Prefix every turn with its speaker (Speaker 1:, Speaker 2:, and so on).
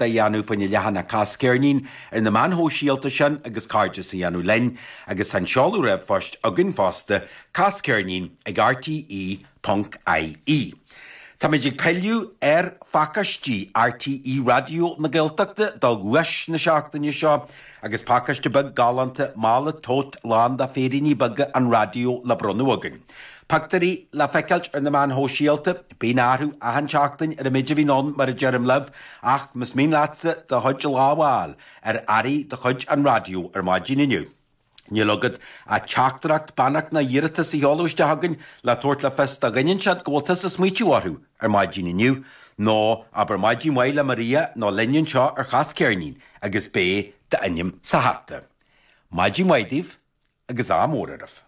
Speaker 1: a dhéanamh faoina leathanach Cas Ceirnín ar na meáin shóisialta sin agus cairdeas a dhéanamh linn agus tá an seoladh ríomhphoist againn fosta, casceirnín ag rte ponc ie. Táimid ag pilleadh ar phacáistí RTÉ Raidió na Gaeltachta do dhuais na seachtaine seo agus pacáiste beag galánta, mála tote lán de féiríní beaga an raidió le bronnadh againn. Pictiúirí le feiceáilt ar na meáin shóisialta. Bíonn athrú achan tseachtain ar an méid a bhíonn ann mar a deirim libh ach más mian leatsa do chuid lámh a fháil ar earraí de chuid an raidió ar maidin inniu, níl agat ach teachtaireacht, beannacht nó iarratas a sheoladh isteach chugainn le tabhairt le fios do dhuine inteacht go bhfuil tusa ag smaoitiú orthu ar maidin inniu, nó abair maidin mhaith le Maria nó linn anseo ar Chas Ceirnín agus beidh d'ainm sa hata. Maidin mhaith daoibh agus ádh mór oraibh.